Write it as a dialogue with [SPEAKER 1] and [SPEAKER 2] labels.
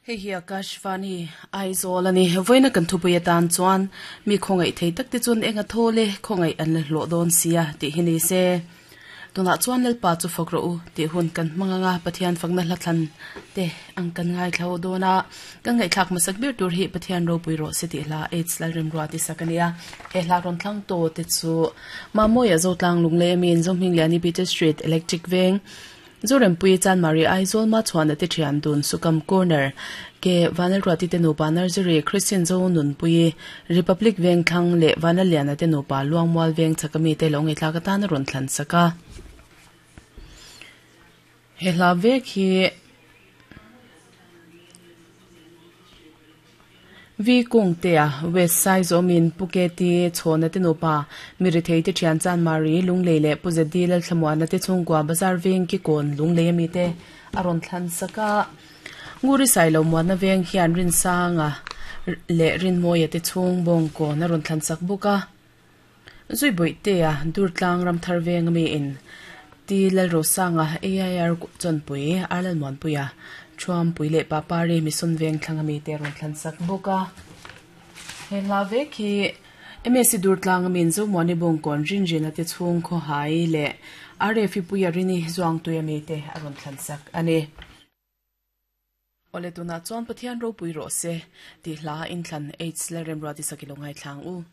[SPEAKER 1] Hei hi Akashvani, Aizawl a ni. Vawiina kan thupui atan chuan mi khawngaih thei tak te chuan eng a thawl e, khawngaih an la hlawh dawn sia tih hi ni se. Tunah chuan Lalpa chu fak rawh u tih hun kan hmang ang a, Pathian fakna hla thlan te ang kan ngaithla ho dawn a. Kan ngaihthlak hmasak ber tur hi Pathian ropui rawh se tih hla AIDS Lalremrua ti sak a ni a. He hla rawn thlang tawh te chu Mamawia Zotlang Lunglei a min Zohmingliani Peter Street Electric Veng Zorempuii Chanmari Aizawl Machhuana te thian dun Sukam Corner ke Vanlalruati te nupa Nursery Christian Zo Nunpuii Republic Vengthlang leh Vanlalliana te nupa Luangmual Veng chhaka mite lo ngaihthlak atan a rawn thlan sak a. He hla vek hi Vi Kungtea, West Saizawmin Pu KT Chhawna te nupa, Mirithei te thian Chanmari, Lunglei leh Pu ZD Lalthlamuana te chhungkua Bazar Veng Kikawn, Lunglei ami te a rawn thlan sak a. Nguri Sailo Muanna Veng hian Rinsanga leh Rinmawia te chhung Bawngkawn a rawn thlan sak bawk a. Zuibawihtea, Durtlang Ramthar Veng ami in Ti Lalrosanga, AIR Chawnpui, Arlalmuanpuia, Thuampui leh Papari Mission Veng thlang ami te rawn thlan sak bawk a. He hla vek hi MSc Durtlang ami in Zomuani Bawngkawn Rinrina te chhung Khawhai leh RFI Puia Rini Zuangtui ami te a rawn thlan sak a ni. Awle tunah chuan Pathian ropui rawh se tih hla inthlan Aids Lalremruati Sakilo ngaithlang u.